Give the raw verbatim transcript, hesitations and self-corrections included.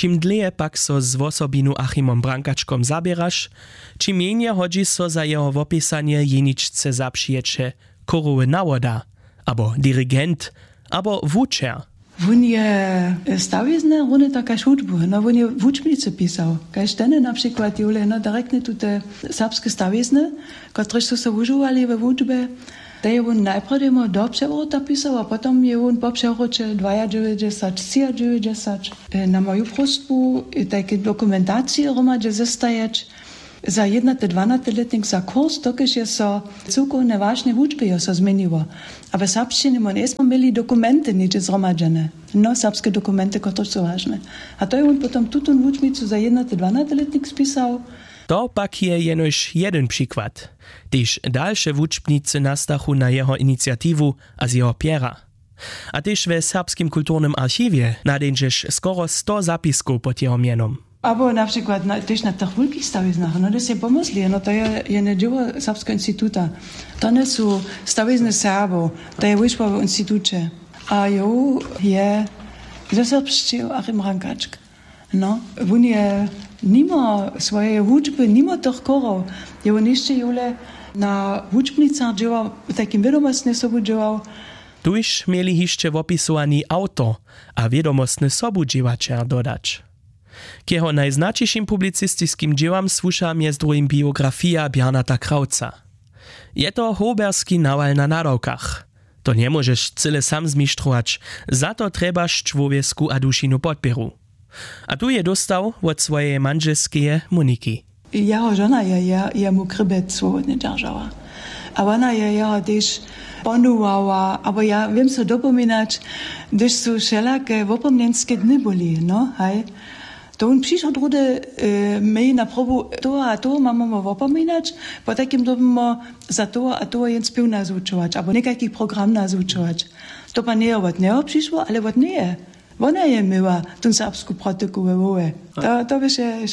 Čim dlěje pak so z wosobinu achimom brankačkom zaběraš, ćim mjenje hodźi so za jeho wopisanje jeničce zapřijeće chórowy nawoda abo dirigent abo wučer. Wón je stawizny runje tak kaž hudbu, no wón je wučbnicy pisał kaž teny na přikład jule no direktnje tute serbske stawizny, kotrež su se wužowali we wučbje. Te je wón najprjedy do přewróta pisał a potom je wón po přewróće dwajadźewjećdźesat třiadźewjećdźesat na moju próstbu tajke dokumentacije hromadźe zestajeć za jednaty dwanaty lětnik za kurs dokelž je so cyłkowne wašnje wučby jo so změniło. A w serbšćinje my njejsmy měli dokumenty něhdźe zhromadźene, no serbske dokumenty kotrež su wažne. A to je wón potom tutón wučbnicu za jednaty dwanaty lětnik spisał. To pak je jenož jedyn přikład. Tež dalše wučbnicy nastachu na jeho iniciatiwu a z jeho pjera. A tež we serbskim kulturnym archiwje nadeńdźeš skoro sto zapiskow pod jeho mjenom. Abo na přikład tež na tych wulkich stawiznach no hdyž sej pomysli no to je jene dźěło serbskeho instituta. To njesu stawizny serbow, to je wójšbowy instituće. A jow je zeserbšćił achim rankačk. No wón je nimo swojeje wučby nimo tych chórow je wón hišće jule na wučbnicach dźěłał, w tajkim wědomostnje sobu dźěłał. Tuž měli hišće wopisowani awtor a wědomostny sobudźěłaćer dodać. K jeho najznaćišim publicistiskim dźěłam słuša mjez druhim biografija bjarnata krawca. Je to hołberski nawal na nadawkach. To njemóžeš cyle sam zmištrować. Za to trjebaš čłowjesku a dušinu podpěru. A tu je dóstał wot swojeje mandźelskeje moniki. Jeho žona je jemu krěbjec swobodnje dźeržała. A wona je jeho tež ponuwała abo ja wěm so dopominać, hdyž su wšelake wopomnjenske dny byli no haj, to wón přišoł druhdy, my na probu toho a toho mamamo wopominać, potajkim dyrbimo za toho a toho jen spěw nazwučować abo někajki program nazwučować. To pak njeje wot njeho přišło ale wot njeje. Wona je měła tón serbsku protyku we hłowje. To běše